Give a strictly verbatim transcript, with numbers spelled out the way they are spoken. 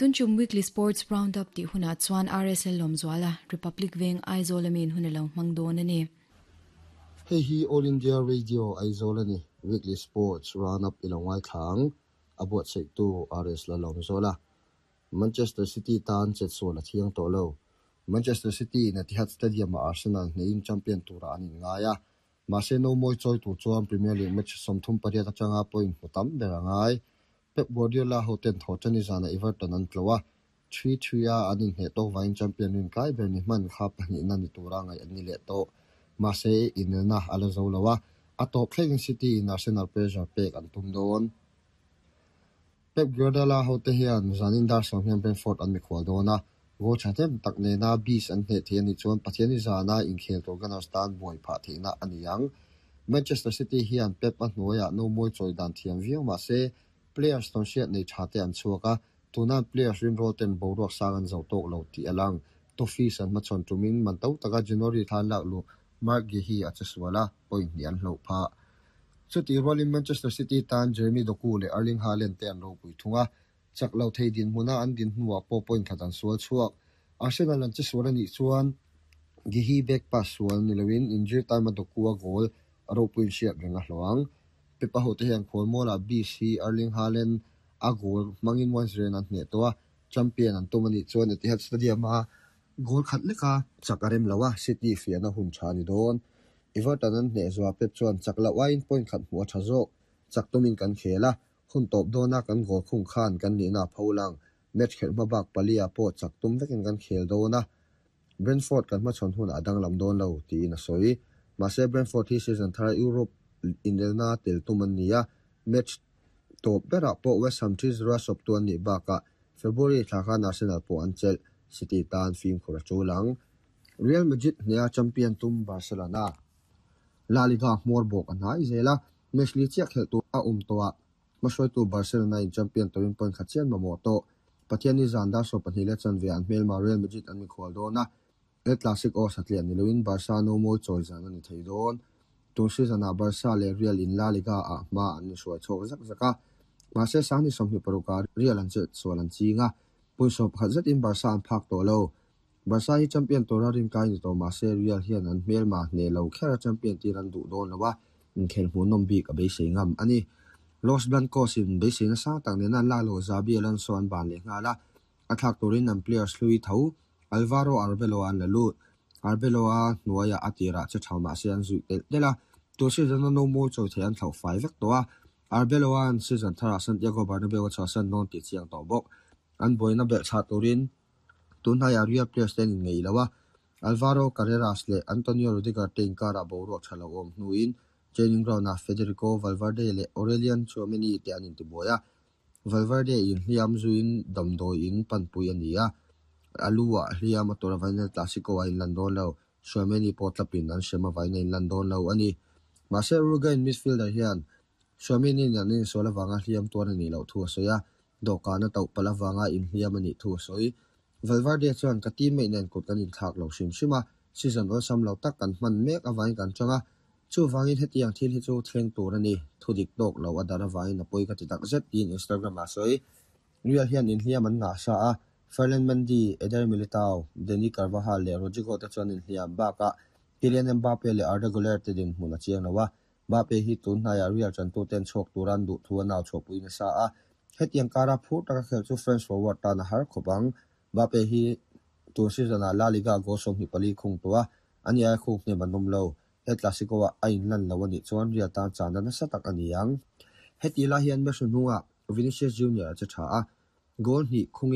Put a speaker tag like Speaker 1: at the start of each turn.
Speaker 1: Tunchum Weekly Sports Roundup ti huna chuan R S L Lawmzuala, Republic Veng, Aizawl amin hunalo mangdawn ani.
Speaker 2: Hei hi All India Radio Aizawl ani. Weekly Sports Roundup ilongai thlang abuat sei tu R S la Lawmzuala. Manchester City tan chet sual a thiang tawh lo. Manchester City in Etihad Stadium a Arsenal hnehin champion tura an inngai a. Mahse no mawi chawi tur chuan Premier League match sawmthum pariat atanga point hmu tam ber a ngai. Pep Guardiola hoten thawhṭani zana Everton an tlo a. three three a an inhneh tawk vangin champion rin kai ber ni hman kha pahnihna ni tura ngaih an ni leh tawh. Mahse inelna a la zo lo a. A tawp thlengin City in Arsenal pressure pek an tum dawn. Pep Guardiola hote hian zanin dar sawm hian Brentford an mikhual dawn a. Goal ṭhahnem tak nena Bees an hneh thei anih chuan Pathiani zana inkhel tur Gunners tan buai phah theihna a ni ang. Manchester City hian Pep a hnuaiah no mawi chawi dan thiam viau mahse players tawn hriat nei tha te an chhuak a. Tunan players rinrawl ten boruak sang an zo tawk lo tih a lang. Toffees an hmachhawn tumin man to taka January thlan lak lu Marc Guehi a che sual a, point hnih an hloh phah. Chuti rualin Manchester City tan Jeremy Doku leh Erling Haaland te an ropui thung a. Chak lo thei din hmuna an din hnuah pawh point khat an sual chhuak. Arsenal an che sual anih chuan Guehi back pass sual ni loin injury time a Doku a goal a ropuiin hriat reng a hlawh ang. Pep a hote hian khualmualah Bees hi Erling Haaland a goal hmangin one zero an hneh tawh a. Champion an tum anih chuan Etihad Stadium a goal khat leka chak a rem lo a, City fiahna hun tha ni dawn. Everton an hneh zuah Pep chuan chak loh aiin point khat hmuh a tha zawk. Chak tumin kan khel a. Hun tawp dawna kan goal khung khan kan nihna a pho lang. Match khelh hma bak palia pawh chak tum vekin kan khel dawn a. Brentford kan hmachhawn hun a danglam dawn lo tiin a sawi. Mahse Brentford hi season thar Europe inelna tel tum an ni a. Match tawp berah pawh West Ham three zero a sawp tu an nih bakah February thla khan Arsenal pawh an chelh. City tan fimkhur a tul ang. Real Madrid hneh a champion tum Barcelona. La Liga hmawr bawk a hnai zel a. Match li chiah khelh tur a awm tawh a. Hmahruaitu Barcelona in champion turin point khat chian mamawh tawh. Pathiani zan dar sawm pahnih leh chanve an hmelma Real Madrid an mikhual dawn a. El Clasico satliah ni loin Barca no mawi chawi zan a ni thei dawn. Tun season ah Barca leh Real in La Liga ah hma an ni hruai chhawk zak zak a. Mahse sangni sawmhnih paruk ah Real an chet sual an ching a. Point sawm pakhat zetin Barca an phak tawh lo. Barca hi champion tura rin kai ni tawh mahse Real hian an hmelma hneh lo khera champion tir an duh dawn lo a. Inkhel hmuhnawm bik a beisei ngam ani. Los Blancos in beisei na sang tak nena an lak lo Xabi Alonso an ban leh nghal a. A thlak turin an players hlui tho Alvaro Arbeloa an la lut. Arbeloa hnuaiah a tirah che tha mahse an zuih telh telh a. Tun season a no mawi chawi thei an thlauh fai vek tawh a. Arbeloa an season tharah Santiago Bernabeu a chhuahsan dawn tih chiang tawh bawk. An buaina belh chah turin tun hnaiah Real players te an inngeih lo a. Alvaro Carreras leh Antonio Rudiger te inkarah boruak tha lo awm hnuin training ground ah Federico Valverde leh Aurelien Tchouameni te an intibuai a. Valverde in hliam zuiin damdawi in panpui a ni a. A lu ah hliam a tura vain El Clasico a inlan dawn lo. Tchouameni pawh tlapin an hrem avain a inlan dawn lo ani. Mahse Uruguayan midfielder hian Tchouameni in an insual awanga hliam tuar a nih loh thu a sawi a. Dawhkan a tauh palh awanga inhliam a nih thu a sawi. Valverde chuan ka teammate nen kut kan inthlak lo hrim hrim a. Season awlsam lo tak kan hman mek awain kan tang a. Chu wangin hetiang thil hi chu thleng tur ani. Thu dik tawk lo a dar awain a pawi ka ti tak zet tiin Instagram ah sawi. Real hian inhliam an ngah sa a. Ferland Mendy, Eder Militao, Dani Carvajal leh Rodrigo te chuan inhliam bakah Kylian Mbappe leh Arda Güler te dinhmun a chiang lo a. Mbappe hi tun hnaiah Real chantu ten chhuak turan duh thu a nau chhuahpui nasa a. Hetiang kara phur taka khel chu French forward tan a har khawp ang. Mbappe hi tun season ah La Liga goal sawmhnih pali khung tawh a. Ani ai khung hnem an awm lo. El Clasico ah a inlan lo anih chuan Real tan chana nasa tak a ni ang. Heti lai hian match hnungah Vinicius Junior a che tha a. Goal hnih khungin